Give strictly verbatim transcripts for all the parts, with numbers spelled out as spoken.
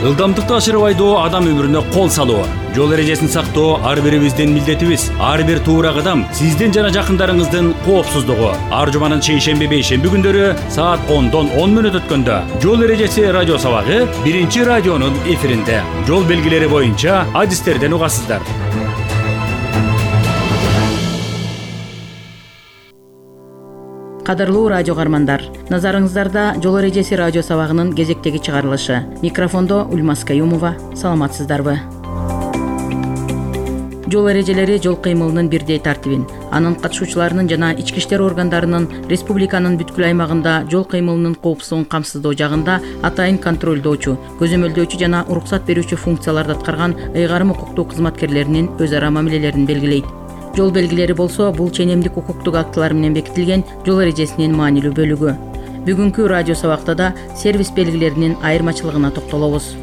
Ылдамдыкты ашырып айдоо адам өмүрүнө кол салуу. Жол эрежесин сактоо ар бирибиздин милдетибиз. Ар бир туура кадам сиздин жана жакындарыңыздын коопсуздугу. Ар жуманын шейшемби бейшемби күндөрү саат ондон он мүнөт өткөндө жол эрежеси радио сабагы биринчи радионун эфиринде. Жол белгилери боюнча адистерден угасыздар. Кадырлуу радио каармандар, назарыңыздарда жол эрежеси радио сабагынын кезектеги чыгарылышы. Микрофондо Ульмас Каюмова. Саламатсыздарбы? Жол эрежелери жол кыймылынын бирдей тартибин, анын катышуучуларынын жана ички иштер органдарынын республиканын бүткүл аймагында жол кыймылынын коопсуздугун камсыздоо жагында атайын контролдоочу, көзөмөлдөөчү жана уруксат берүүчү функцияларды аткарган ыйгарым укуктуу кызматкерлеринин өз ара мамилелерин белгилейт. Жол белгилери болсо бул ченемдик укуктук актылар менен бекитилген жол эрежесинин маанилүү бөлүгү. Бүгүнкү радио сабакта да сервис белгилеринин айырмачылыгына токтолобуз.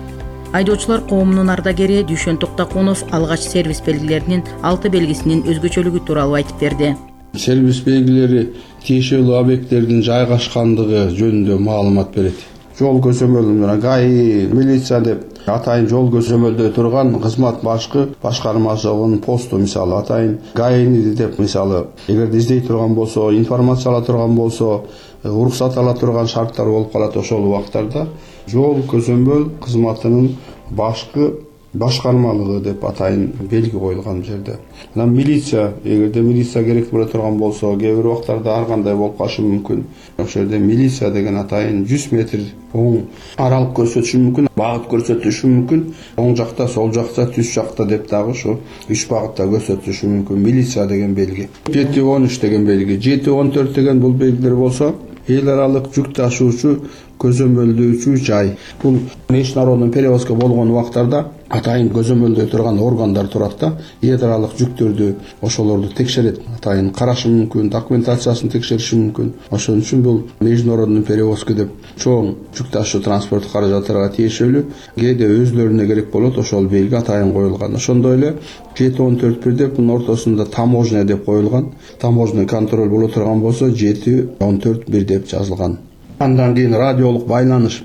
Айдоочулар коомунун ардагери Дүйшөн Токтокунов алгач сервис белгилеринин алты белгисинин өзгөчөлүгү тууралуу айтып берди. Сервис белгилери тиешелүү объекттердин жайгашкандыгы жөнүндө маалымат берет. Жол көзөмөлүнө ГАИ, милиция деп атайын жол көзөмөлдөй турган кызмат башкы башкармасынын посту, мисалы атайын ГАИни деп, мисалы эгерде издей турган болсо, информация ала турган болсо, уруксат ала турган шарттар болуп калат. Ошол убактарда жол көзөмөл кызматынын башкы башкармалыгы деп атайын белги коюлган жерде. Анан милиция, эгерде милиция керек боло турган болсо, кээ бир убактарда ар кандай болуп калышы мүмкүн. Ошол жерде милиция деген атайын жүз метр оң аралык көрсөтүшү мүмкүн, багыт көрсөтүшү мүмкүн. Оң жакта, сол жакта, түз жакта деп дагы ушу үч багытта көрсөтүшү мүмкүн. Милиция деген белги. жети он үч деген белги, жети он төрт деген бул белгилер болсо, эл аралык жүк ташуучу көзөмөлдөөчү жай. Бул международный перевозка болгон убактарда атайын көзөмөлдөй турган органдар турат да, эл аралык жүктөрдү ошолорду текшерет, атайын карашы мүмкүн, документациясын текшериши мүмкүн. Ошон үчүн бул международный перевозка деп чоң жүк ташуу транспорт каражаттарга тиешелүү, кээде өзлөрүнө керек болот, ошол белги атайын коюлган. Ошондой эле жети он төрт бир деп мунун ортосунда таможня деп коюлган. Таможня контроль боло турган болсо жети он төрт бир деп жазылган. Андан кийин радиолук байланыш.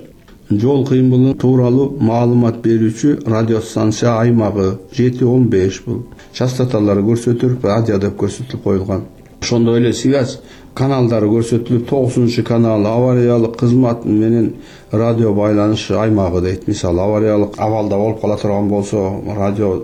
Жол кыймылы тууралуу маалымат берүүчү радиостанция аймагы жети он беш бул. Частоталары көрсөтүлүп, радио деп көрсөтүлүп коюлган. Ошондой эле связь каналдары көрсөтүлүп, тогузунчу канал авариялык кызмат менен радио байланыш аймагы дейт. Мисалы авариялык абалда болуп кала турган болсо, радио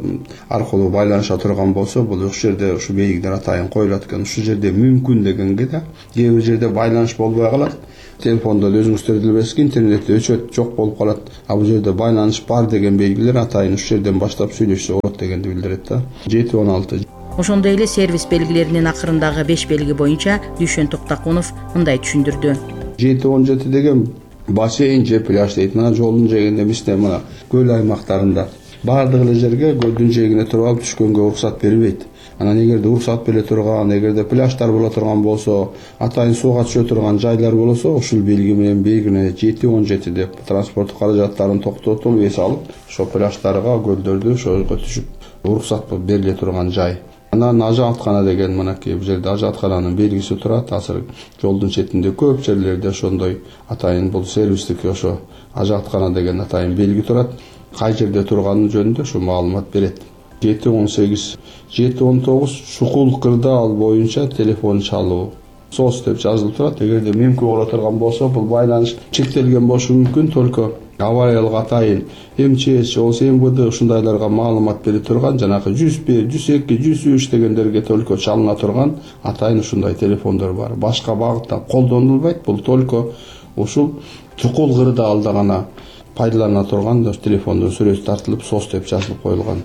аркылуу байланыша турган болсо, бул ушул жерде ушу белгилер атайын коюлат экен. Ушул жерде мүмкүн дегенге да кээ бир жерде байланыш болбой калат. Телефондо өзүңүздөр билесизби, интернетте өчөт жок болуп калат. А бул жерде байланыш бар деген белгилер атайын ушул жерден баштап сүйлөшсө болот дегенди билдирет да. жети он алты. Ошондой эле сервис белгилеринин акырындагы беш белги боюнча Дүйшөн Токтокунов мындай түшүндүрдү. жети он жети деген бассейн же пляж дейт. Мына жолдун жээгинде эместе, мына көл аймактарында баардык эле жерге көлдүн жээгине туруп алып түшкөнгө уруксат берилбейт. Анан эгерде уруксат бере турган, эгерде пляждар боло турган болсо, атайын сууга түшө турган жайлар болсо, ушул белги менен белгиленет. жети он жети деп транспорт каражаттарын токтотуп эс алып, ошо пляждарга, көлдөрдү ошого түшүп уруксат бериле турган жай. Анан ажааткана деген мынакей бул жерде ажааткананын белгиси турат. Азыр жолдун четинде көп жерлерде ошондой атайын бул сервистик ошо ажааткана деген атайын белги турат. Кай жерде турганы жөнүндө ушу маалымат берет. жети он сегиз, жети он тогуз чукул кырдаал боюнча телефон чалуу. сос деп жазылып турат. Эгерде мүмкүн боло турган болсо, бул байланыш чектелген болушу мүмкүн, только авариялык атайын эм че эс болсо эм вэ дэ ушундайларга маалымат бере турган, жанагы жүз бир, жүз эки, жүз үч дегендерге только чалына турган атайын ушундай телефондор бар. Башка багытта колдонулбайт. Бул только ушул чукул кырдаалда гана пайдалана турган телефондун сүрөтү тартылып, сос деп жазылып коюлган.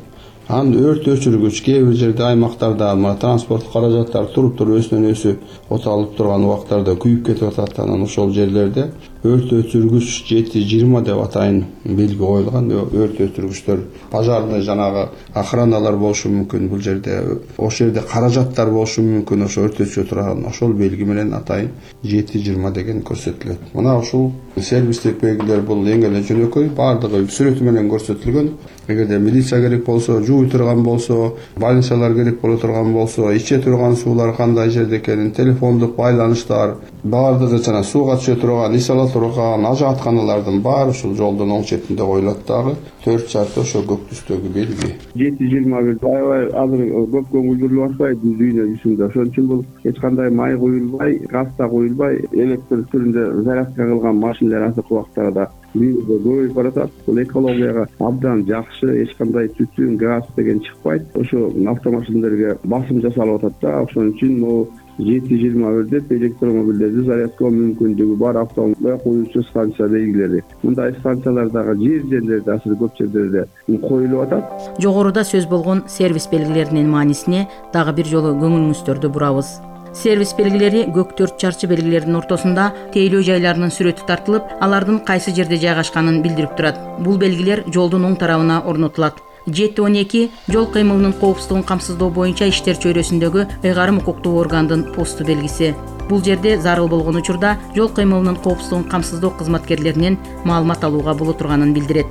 Ан өрт өчүргүч кээ бир жерде аймактарда мына транспорт каражаттары туруп туруп өсүнөн өсү оталып турган убактарда күйүп кетип атат. Анан ошол жерлерде өрт өчүргүч жети жыйырма деп атайын белги коюлган. Өрт өчүргүчтөр пожарный жанагы охраналар болушу мүмкүн. Бул жерде ошол жерде каражаттар болушу мүмкүн. Ошо өрт өчүрө турган ошол белги менен атайын жети жыйырма деген көрсөтүлөт. Мына ушул сервистик белгилер бул эң эле жөнөкөй, баардыгы сүрөтү менен көрсөтүлгөн. Эгерде милиция керек болсо, жууй турган болсо, больницалар керек боло турган болсо, иче турган суулар кандай жерде экенин, телефондук байланыштар, баардыгы жана сууга түшө турган, ис ала турган ажатканалардын баары ушул жолдун оң четинде коюлат дагы. төрт жарты ошо көк түстөгү белги. жети жыйырма бир аябай азыр көп көңүл атпайт дүйнө жүзүндө. Ошон үчүн бул эч кандай май куюлбай, газ да куюлбай, электр түрүндө зарядка кылган машиналар азыркы убактарда дүйнөдө көбөйүп баратат. Бул экологияга абдан жакшы, эч кандай түтүн, газ деген чыкпайт. Ошо автомашиналерге басым жасалып атат да. Ошон үчүн могу жети жыйырма бир деп электромобилдерди зарядкалоо мүмкүндүгү бар автомобиль коюучу станция белгилери. Мындай станциялар дагы жер жерлерде, азыр көп жерлерде коюлуп атат. Жогоруда сөз болгон сервис белгилеринин маанисине дагы бир жолу көңүлүңүздөрдү бурабыз. Сервис белгилери көк төрт чарчы белгилердин ортосунда тейлөө жайларынын сүрөтү тартылып, алардын кайсы жерде жайгашканын билдирип турат. Бул белгилер жолдун оң тарабына орнотулат. жети он эки жол кыймылынын коопсуздугун камсыздоо боюнча иштер чөйрөсүндөгү ыйгарым укуктуу органдын посту белгиси. Бул жерде зарыл болгон учурда жол кыймылынын коопсуздугун камсыздоо кызматкерлеринен маалымат алууга боло турганын билдирет.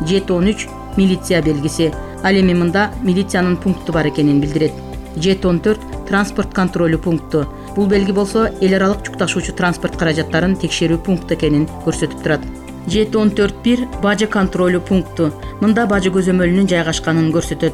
жети он үч милиция белгиси. Ал эми мында милициянын пункту бар экенин билдирет. жети он төрт транспорт контролю пункту. Бул белги болсо эл аралык жүк ташуучу транспорт каражаттарын текшерүү пункту экенин көрсөтүп турат. жети он төрт бир бажы контролю пункту. Мында бажы көзөмөлүнүн жайгашканын көрсөтөт.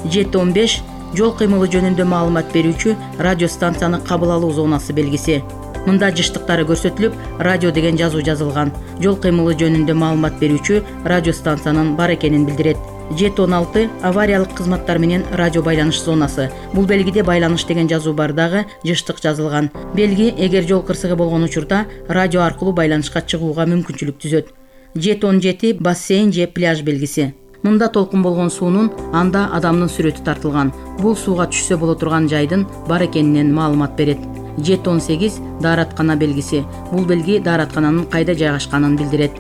жети он беш жол кыймылы жөнүндө маалымат берүүчү радиостанцияны кабыл алуу зонасы белгиси. Мында жыштыктары көрсөтүлүп, радио деген жазуу жазылган. Жол кыймылы жөнүндө маалымат берүүчү радиостанциянын бар экенин билдирет. жети он алты авариялык кызматтар менен радио байланыш зонасы. Бул белгиде байланыш деген жазуу бар дагы жыштык жазылган. Белги эгер жол кырсыгы болгон учурда радио аркылуу байланышка чыгууга мүмкүнчүлүк түзөт. жети он жети бассейн же пляж белгиси. Мында толкун болгон суунун анда адамдын сүрөтү тартылган. Бул сууга түшсө боло турган жайдын бар экенинен маалымат берет. жети он сегиз даараткана белгиси. Бул белги даараткананын кайда жайгашканын билдирет.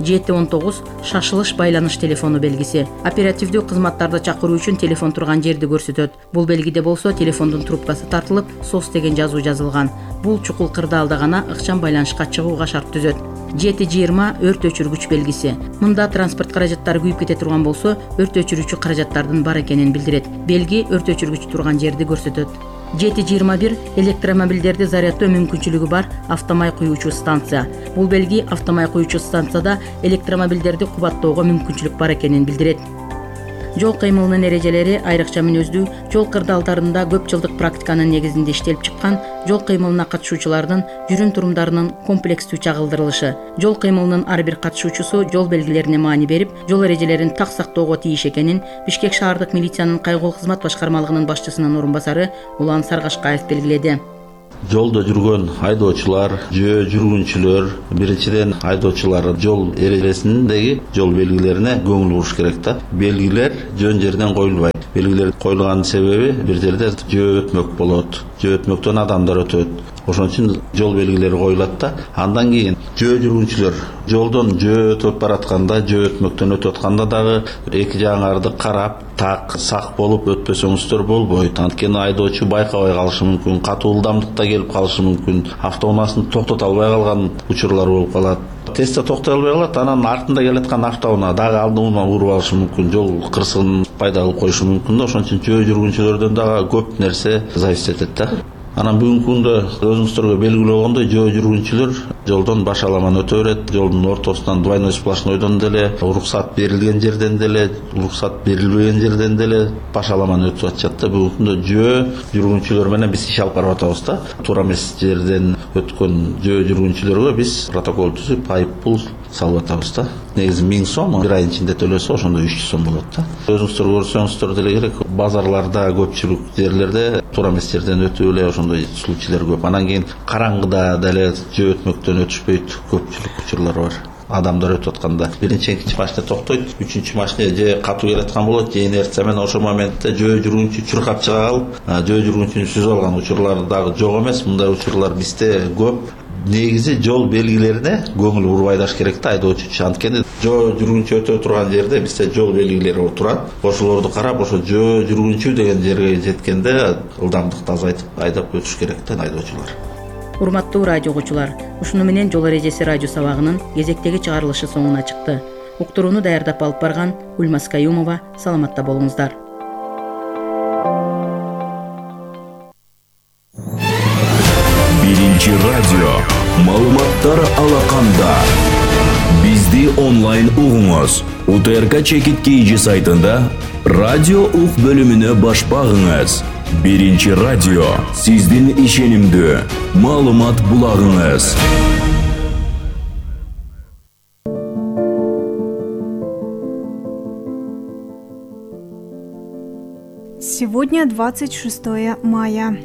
жети он тогуз шашылыш байланыш телефону белгиси. Оперативдүү кызматтарды чакыруу үчүн телефон турган жерди көрсөтөт. Бул белгиде болсо телефондун трубкасы тартылып, сос деген жазуу жазылган. Бул чукул кырдаалда гана ыкчам байланышка чыгууга шарт түзөт. жети жыйырма өрт өчүргүч белгиси. Мында транспорт каражаттары күйүп кете турган болсо, өрт өчүрүүчү каражаттардын бар экенин билдирет. Белги өрт өчүргүч турган жерди көрсөтөт. жети жыйырма бир электромобилдерди зарядтоо мүмкүнчүлүгү бар автомай куюучу станция. Бул белги автомай куюучу станцияда электромобилдерди кубаттоого мүмкүнчүлүк бар экенин билдирет. Жол кыймылынын эрежелери айрыкча мүнөздүү жол кырдаалдарында көп жылдык практиканын негизинде иштелип чыккан жол кыймылына катышуучулардын жүрүм турумдарынын комплекстүү чагылдырылышы. Жол кыймылынын ар бир катышуучусу жол белгилерине маани берип, жол эрежелерин так сактоого тийиш экенин Бишкек шаардык милициянын кайгылуу кызмат башкармалыгынын башчысынын орун басары Улан Саргашкаев белгиледи. Жолдо жүргөн айдоочулар, жөө жүргүнчүлөр, биринчиден айдоочулар жол эрежесиндеги жол белгилерине көңүл буруш керек да. Белгилер жөн жерден коюлбайт. Белгилер коюлганын себеби бир жерде жөө өтмөк болот, жөө өтмөктөн адамдар өтөт. Ошон үчүн жол белгилери коюлат да. Андан кийин жөө жүргүнчүлөр жолдон жөө өтүп баратканда, жөө өтмөктөн өтүп атканда дагы эки жагыңарды карап, так сак болуп өтпөсөңүздөр болбойт. Анткени айдоочу байкабай калышы мүмкүн, катуу ылдамдыкта келип калышы мүмкүн, автоунаасынын токтото албай калган учурлар болуп калат. Тезде токтой албай калат, анан артында келаткан автоунаа дагы алдынан уруп алышы мүмкүн, жол кырсыгын пайда кылып коюшу мүмкүн да. Ошон үчүн жөө жүргүнчүлөрдөн дагы көп нерсе зависит этет да. Анан бүгүнкү күндө өзүңүздөргө белгилүү болгондой жөө жүргүнчүлөр жолдон башаламан өтө берет. Жолдун ортосунан двойной сплошнойдон деле, уруксат берилген жерден деле, уруксат берилбеген жерден деле башаламан өтүп атышат да. Бүгүнкү күндө жөө жүргүнчүлөр менен биз иш алып барып атабыз да. Туура эмес жерден өткөн жөө жүргүнчүлөргө биз протокол түзүп, айып пул салып атабыз да. Негизи миң сом, бир айдын ичинде төлөсө ошондо үч жүз сом болот да. Өзүңүздөр көрсөңүздөр деле керек, базарларда, көпчүлүк жерлерде туура эмес жерден өтүп эле ошондой случайлар көп. Анан кийин караңгыда деле жөө өтмөктөн өтүшпөйт, көпчүлүк учурлар бар. Адамдар өтүп атканда биринчи экинчи машина токтойт, үчүнчү машина же катуу келаткан болот, же инерция менен ошол моментте жөө жүргүнчү чуркап чыга калып, жөө жүргүнчүнү сүзүп алган учурлар дагы жок эмес. Мындай учурлар бизде көп. Негизи жол белгилерине көңүл бурбай даш керек да айдоочу. Анткени жөө жүргүнчү өтө турган жерде бизде жол белгилери турат. Ошолорду карап, ошо жөө жүргүнчү деген жерге жеткенде ылдамдыкты азайтып айдап өтүш керек да айдоочулар. Урматтуу радио угуучулар, ушуну менен Жол эрежеси радио сабагынын кезектеги чыгарылышы соңуна чыкты. Уктурууну даярдап алып барган Ульмас Каюмова, саламатта болуңуздар. Биринчи радио Маалыматтар алаканда. Бизди онлайн угуңуз. УТРК Чекит Кийжи сайтында радио ук бөлүмүнө баш багыңыз. Биринчи радио сиздин ишенимдүү маалымат булагыңыз. Сегодня двадцать шестое мая.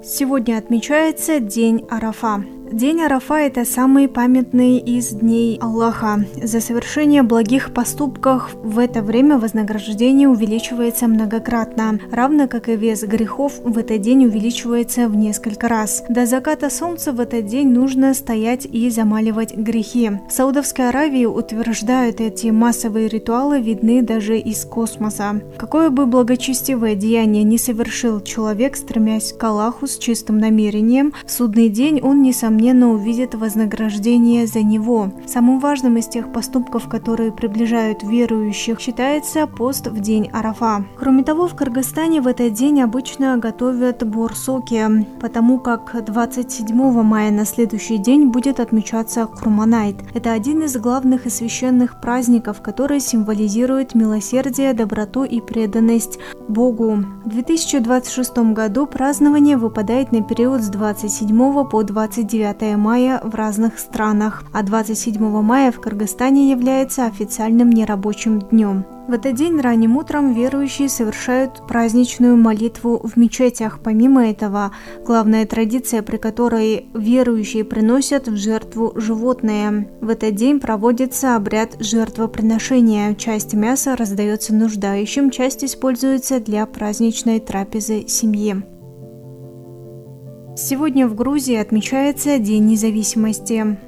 Сегодня отмечается День Арафа. День Арафа – это самый памятный из дней Аллаха. За совершение благих поступков в это время вознаграждение увеличивается многократно, равно как и вес грехов в этот день увеличивается в несколько раз. До заката солнца в этот день нужно стоять и замаливать грехи. В Саудовской Аравии утверждают, эти массовые ритуалы видны даже из космоса. Какое бы благочестивое деяние не совершил человек, стремясь к Аллаху с чистым намерением, в судный день он, несомненно, увидит вознаграждение за него. Самым важным из тех поступков, которые приближают верующих, считается пост в день Арафа. Кроме того, в Кыргызстане в этот день обычно готовят борсоки, потому как двадцать седьмого мая на следующий день будет отмечаться Курманайт. Это один из главных и священных праздников, который символизирует милосердие, доброту и преданность Богу. В две тысячи двадцать шестом году празднование выпадает на период с двадцать седьмого по двадцать девятое мая в разных странах, а двадцать седьмого мая в Кыргызстане является официальным нерабочим днем. В этот день ранним утром верующие совершают праздничную молитву в мечетях. Помимо этого, главная традиция, при которой верующие приносят в жертву животное. В этот день проводится обряд жертвоприношения. Часть мяса раздается нуждающим, часть используется для праздничной трапезы семьи. Сегодня в Грузии отмечается День независимости.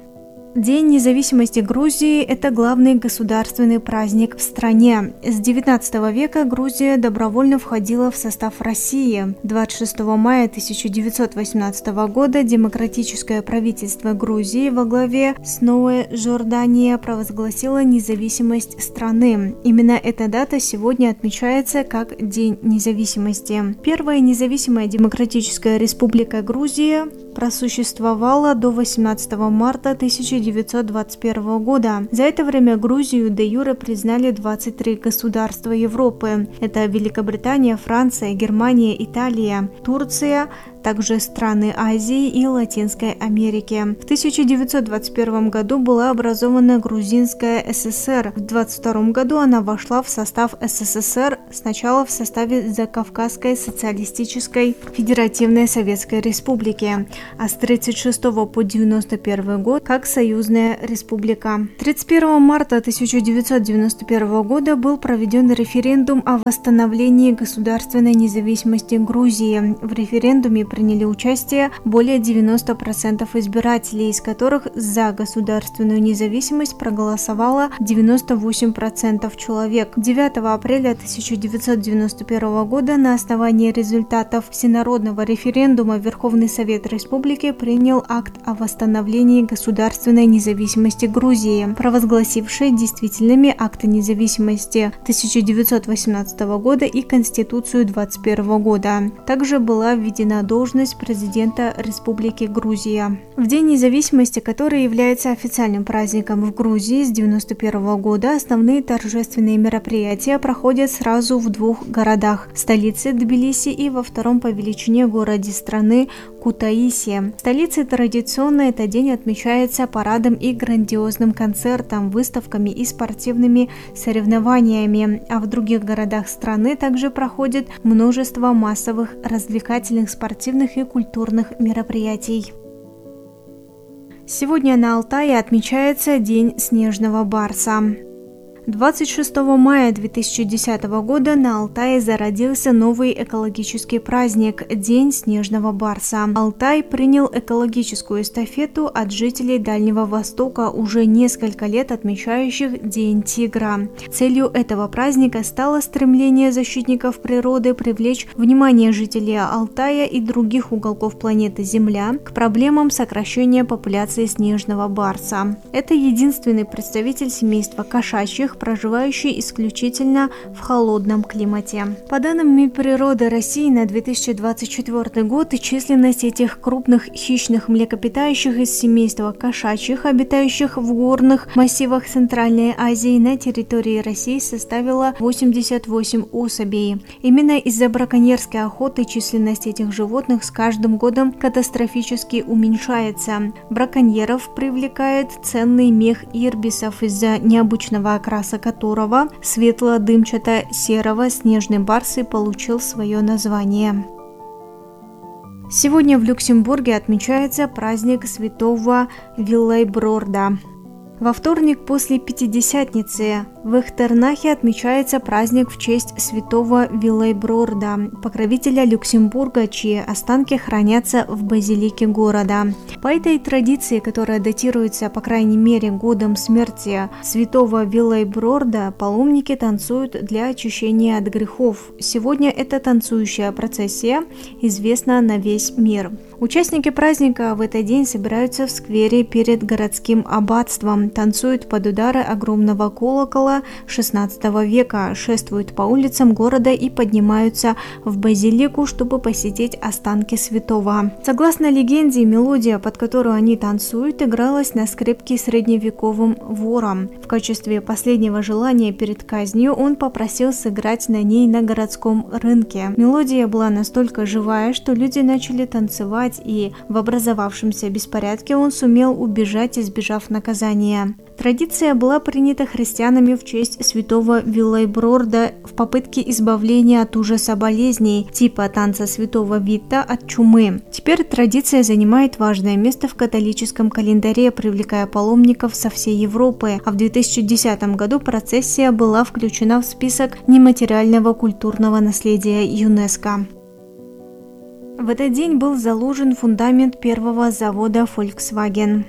День независимости Грузии – это главный государственный праздник в стране. С девятнадцатого века Грузия добровольно входила в состав России. двадцать шестого мая тысяча девятьсот восемнадцатого года демократическое правительство Грузии во главе с Ноэ Жордания провозгласило независимость страны. Именно эта дата сегодня отмечается как День независимости. Первая независимая демократическая республика Грузия просуществовала до восемнадцатого марта тысяча девятьсот двадцать первого года. За это время Грузию де-юре признали двадцать три государства Европы. Это Великобритания, Франция, Германия, Италия, Турция, также страны Азии и Латинской Америки. В тысяча девятьсот двадцать первом году была образована Грузинская ССР. В двадцать втором году она вошла в состав СССР, сначала в составе Закавказской социалистической федеративной Советской Республики, а с тридцать шестого по девяносто первый год как Союзная Республика. тридцать первого марта тысяча девятьсот девяносто первого года был проведен референдум о восстановлении государственной независимости Грузии. В референдуме приняли участие более девяноста процентов избирателей, из которых за государственную независимость проголосовало девяносто восемь процентов человек. девятого апреля тысяча девятьсот девяносто первого года на основании результатов всенародного референдума Верховный Совет Республики принял акт о восстановлении государственной независимости Грузии, провозгласивший действительными акты независимости тысяча девятьсот восемнадцатого года и Конституцию двадцать первого года. Также была введена должность президента Республики Грузия. В День независимости, который является официальным праздником в Грузии с девяносто первого года, основные торжественные мероприятия проходят сразу в двух городах – столице Тбилиси и во втором по величине городе страны Кутаиси. В столице традиционно этот день отмечается парадом и грандиозным концертом, выставками и спортивными соревнованиями, а в других городах страны также проходит множество массовых развлекательных, спортивных и культурных мероприятий. Сегодня на Алтае отмечается День снежного барса. двадцать шестого мая две тысячи десятого года на Алтае зародился новый экологический праздник – День снежного барса. Алтай принял экологическую эстафету от жителей Дальнего Востока, уже несколько лет отмечающих День тигра. Целью этого праздника стало стремление защитников природы привлечь внимание жителей Алтая и других уголков планеты Земля к проблемам сокращения популяции снежного барса. Это единственный представитель семейства кошачьих, животных, проживающие исключительно в холодном климате. По данным Минприроды России на две тысячи двадцать четвёртый год численность этих крупных хищных млекопитающих из семейства кошачьих, обитающих в горных массивах Центральной Азии, на территории России составила восемьдесят восемь особей. Именно из-за браконьерской охоты численность этих животных с каждым годом катастрофически уменьшается. Браконьеров привлекает ценный мех ирбисов, из-за необычного окраса которого, светло-дымчато-серого, снежный барс и получил свое название. Сегодня в Люксембурге отмечается праздник святого Виллайброрда. Во вторник после Пятидесятницы в Эхтернахе отмечается праздник в честь святого Виллайброрда, покровителя Люксембурга, чьи останки хранятся в базилике города. По этой традиции, которая датируется по крайней мере годом смерти святого Виллайброрда, паломники танцуют для очищения от грехов. Сегодня эта танцующая процессия известна на весь мир. Участники праздника в этот день собираются в сквере перед городским аббатством, танцуют под удары огромного колокола шестнадцатого века, шествуют по улицам города и поднимаются в базилику, чтобы посетить останки святого. Согласно легенде, мелодия, под которую они танцуют, игралась на скрипке средневековым вором. В качестве последнего желания перед казнью он попросил сыграть на ней на городском рынке. Мелодия была настолько живая, что люди начали танцевать, и в образовавшемся беспорядке он сумел убежать, избежав наказания. Традиция была принята христианами в честь святого Виллайброрда в попытке избавления от ужаса болезней, типа танца святого Вита от чумы. Теперь традиция занимает важное место в католическом календаре, привлекая паломников со всей Европы, а в две тысячи десятом году процессия была включена в список нематериального культурного наследия ЮНЕСКО. В этот день был заложен фундамент первого завода Volkswagen.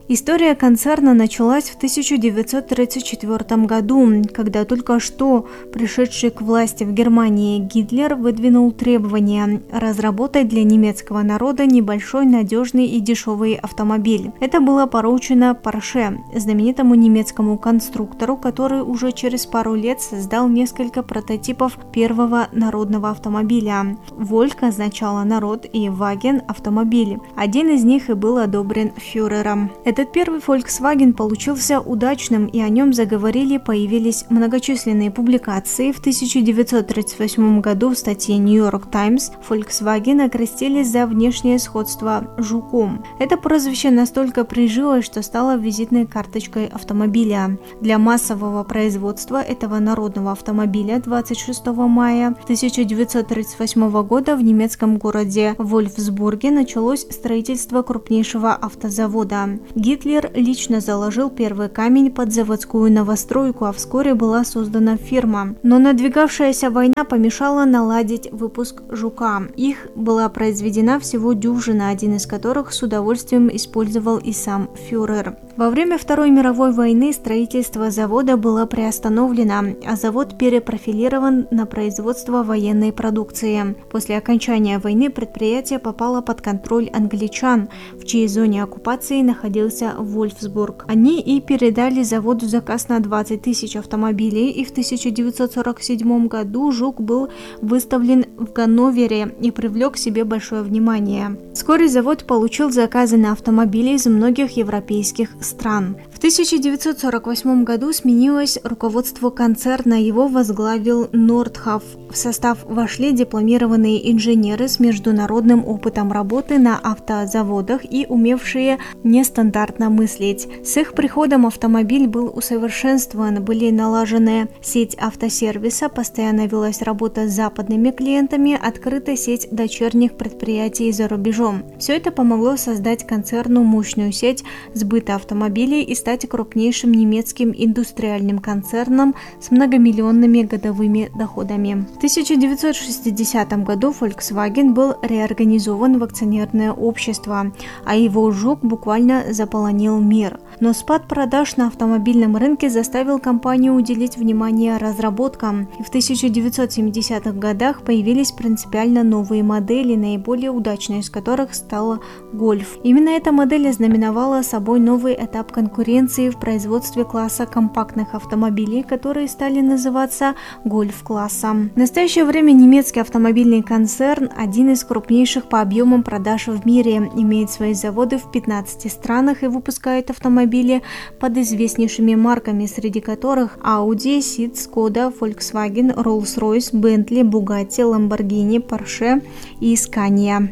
История концерна началась в тысяча девятьсот тридцать четвёртом году, когда только что пришедший к власти в Германии Гитлер выдвинул требование разработать для немецкого народа небольшой, надежный и дешевый автомобиль. Это было поручено Porsche, знаменитому немецкому конструктору, который уже через пару лет создал несколько прототипов первого народного автомобиля. Вольк означало народ и Wagen – автомобиль. Один из них и был одобрен фюрером. Этот первый Volkswagen получился удачным, и о нем заговорили, появились многочисленные публикации. В тысяча девятьсот тридцать восьмом году в статье New York Times Volkswagen окрестили за внешнее сходство жуком. Это прозвище настолько прижилось, что стало визитной карточкой автомобиля. Для массового производства этого народного автомобиля двадцать шестого мая тысяча девятьсот тридцать восьмого года в немецком городе Вольфсбурге началось строительство крупнейшего автозавода. Гитлер лично заложил первый камень под заводскую новостройку, а вскоре была создана фирма. Но надвигавшаяся война помешала наладить выпуск «Жука». Их была произведена всего дюжина, один из которых с удовольствием использовал и сам фюрер. Во время Второй мировой войны строительство завода было приостановлено, а завод перепрофилирован на производство военной продукции. После окончания войны предприятие попало под контроль англичан, в чьей зоне оккупации находился Вольфсбург. Они и передали заводу заказ на двадцать тысяч автомобилей, и в тысяча девятьсот сорок седьмом году «Жук» был выставлен в Ганновере и привлек к себе большое внимание. Вскоре завод получил заказы на автомобили из многих европейских стран. В тысяча девятьсот сорок восьмом году сменилось руководство концерна, его возглавил Нордхаф. В состав вошли дипломированные инженеры с международным опытом работы на автозаводах и умевшие нестандартно мыслить. С их приходом автомобиль был усовершенствован, были налажены сеть автосервиса, постоянно велась работа с западными клиентами, открыта сеть дочерних предприятий за рубежом. Все это помогло создать концерну мощную сеть сбыта автомобилей и стать крупнейшим немецким индустриальным концерном с многомиллионными годовыми доходами. В тысяча девятьсот шестидесятом году Volkswagen был реорганизован в акционерное общество, а его «Жук» буквально заполонил мир. Но спад продаж на автомобильном рынке заставил компанию уделить внимание разработкам. И в тысяча девятьсот семидесятых годах появились принципиально новые модели, наиболее удачной из которых стала Golf. Именно эта модель ознаменовала собой новый этап конкуренции конкуренции в производстве класса компактных автомобилей, которые стали называться гольф-классом. В настоящее время немецкий автомобильный концерн – один из крупнейших по объемам продаж в мире, имеет свои заводы в пятнадцати странах и выпускает автомобили под известнейшими марками, среди которых Audi, Seat, Skoda, Volkswagen, Rolls-Royce, Bentley, Bugatti, Lamborghini, Porsche и Scania.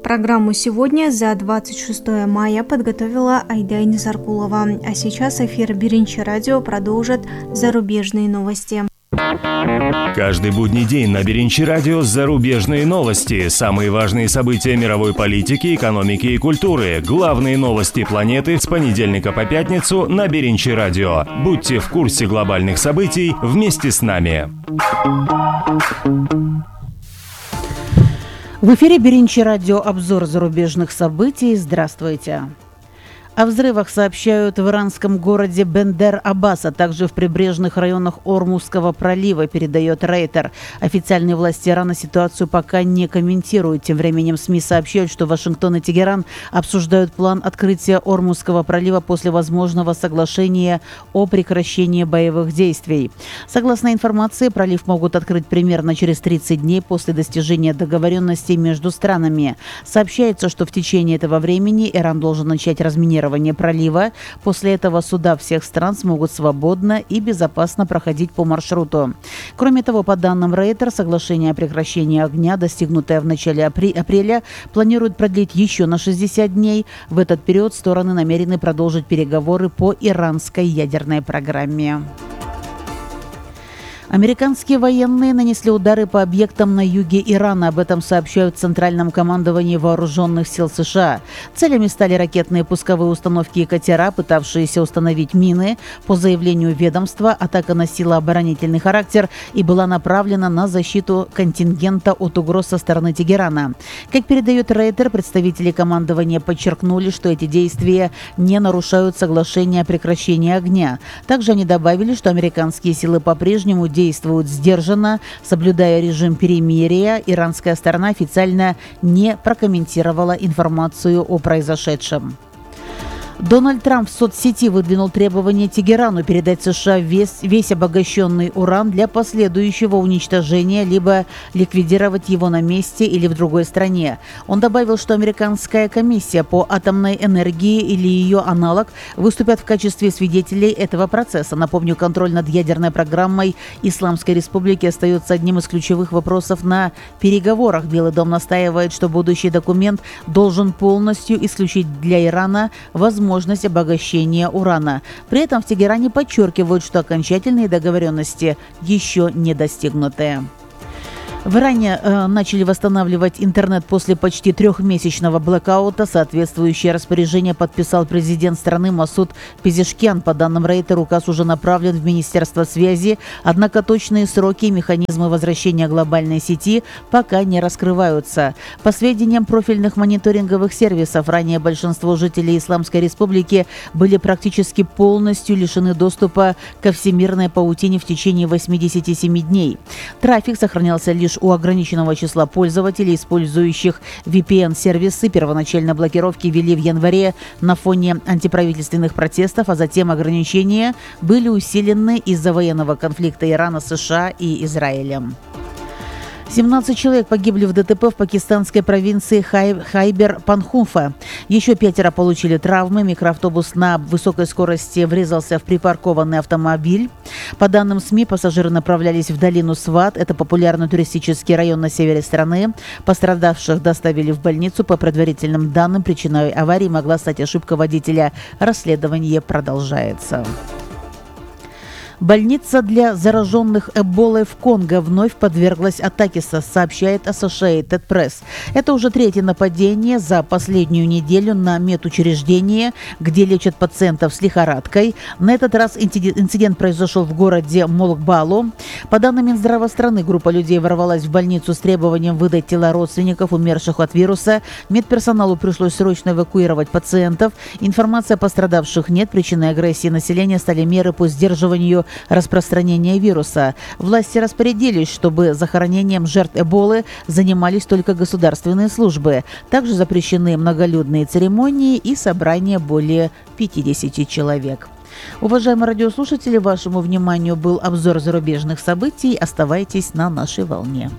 Программу сегодня за двадцать шестое мая подготовила Айдай Низаркулова. А сейчас эфир Биринчи радио продолжит зарубежные новости. Каждый будний день на Биринчи радио зарубежные новости, самые важные события мировой политики, экономики и культуры, главные новости планеты с понедельника по пятницу на Биринчи радио. Будьте в курсе глобальных событий вместе с нами. В эфире Биринчи радио обзор зарубежных событий. Здравствуйте. О взрывах сообщают в иранском городе Бендер-Аббас, а также в прибрежных районах Ормузского пролива, передает Рейтер. Официальные власти Ирана ситуацию пока не комментируют. Тем временем СМИ сообщают, что Вашингтон и Тегеран обсуждают план открытия Ормузского пролива после возможного соглашения о прекращении боевых действий. Согласно информации, пролив могут открыть примерно через тридцать дней после достижения договоренностей между странами. Сообщается, что в течение этого времени Иран должен начать разминирование пролива. После этого суда всех стран смогут свободно и безопасно проходить по маршруту. Кроме того, по данным Рейтер, соглашение о прекращении огня, достигнутое в начале апреля, планируют продлить еще на шестьдесят дней. В этот период стороны намерены продолжить переговоры по иранской ядерной программе. Американские военные нанесли удары по объектам на юге Ирана. Об этом сообщают в Центральном командовании вооруженных сил США. Целями стали ракетные пусковые установки и катера, пытавшиеся установить мины. По заявлению ведомства, атака носила оборонительный характер и была направлена на защиту контингента от угроз со стороны Тегерана. Как передает Рейтер, представители командования подчеркнули, что эти действия не нарушают соглашение о прекращении огня. Также они добавили, что американские силы по-прежнему действуют сдержанно, соблюдая режим перемирия. Иранская сторона официально не прокомментировала информацию о произошедшем. Дональд Трамп в соцсети выдвинул требование Тегерану передать США весь, весь обогащенный уран для последующего уничтожения, либо ликвидировать его на месте или в другой стране. Он добавил, что американская комиссия по атомной энергии или ее аналог выступят в качестве свидетелей этого процесса. Напомню, контроль над ядерной программой Исламской Республики остается одним из ключевых вопросов на переговорах. Белый дом настаивает, что будущий документ должен полностью исключить для Ирана возможность возможность обогащения урана. При этом в Тегеране подчеркивают, что окончательные договоренности еще не достигнуты. В Иране э, начали восстанавливать интернет после почти трехмесячного блэкаута. Соответствующее распоряжение подписал президент страны Масуд Пезешкиан. По данным Рейтер, указ уже направлен в Министерство связи, однако точные сроки и механизмы возвращения глобальной сети пока не раскрываются. По сведениям профильных мониторинговых сервисов, ранее большинство жителей Исламской Республики были практически полностью лишены доступа ко всемирной паутине в течение восьмидесяти семи дней. Трафик сохранялся лишь у ограниченного числа пользователей, использующих ви пи эн-сервисы. Первоначально блокировки ввели в январе на фоне антиправительственных протестов, а затем ограничения были усилены из-за военного конфликта Ирана, США и Израилем. семнадцать человек погибли в ДТП в пакистанской провинции Хай... Хайбер-Панхунфа. Еще пятеро получили травмы. Микроавтобус на высокой скорости врезался в припаркованный автомобиль. По данным СМИ, пассажиры направлялись в долину Сват. Это популярный туристический район на севере страны. Пострадавших доставили в больницу. По предварительным данным, причиной аварии могла стать ошибка водителя. Расследование продолжается. Больница для зараженных Эболой в Конго вновь подверглась атаке, сообщает Associated Press. Это уже третье нападение за последнюю неделю на медучреждение, где лечат пациентов с лихорадкой. На этот раз инцидент произошел в городе Молкбалу. По данным Минздрава страны, группа людей ворвалась в больницу с требованием выдать тела родственников умерших от вируса. Медперсоналу пришлось срочно эвакуировать пациентов. Информации о пострадавших нет. Причиной агрессии населения стали меры по сдерживанию распространения вируса. Власти распорядились, чтобы захоронением жертв Эболы занимались только государственные службы. Также запрещены многолюдные церемонии и собрания более пятидесяти человек. Уважаемые радиослушатели, вашему вниманию был обзор зарубежных событий. Оставайтесь на нашей волне.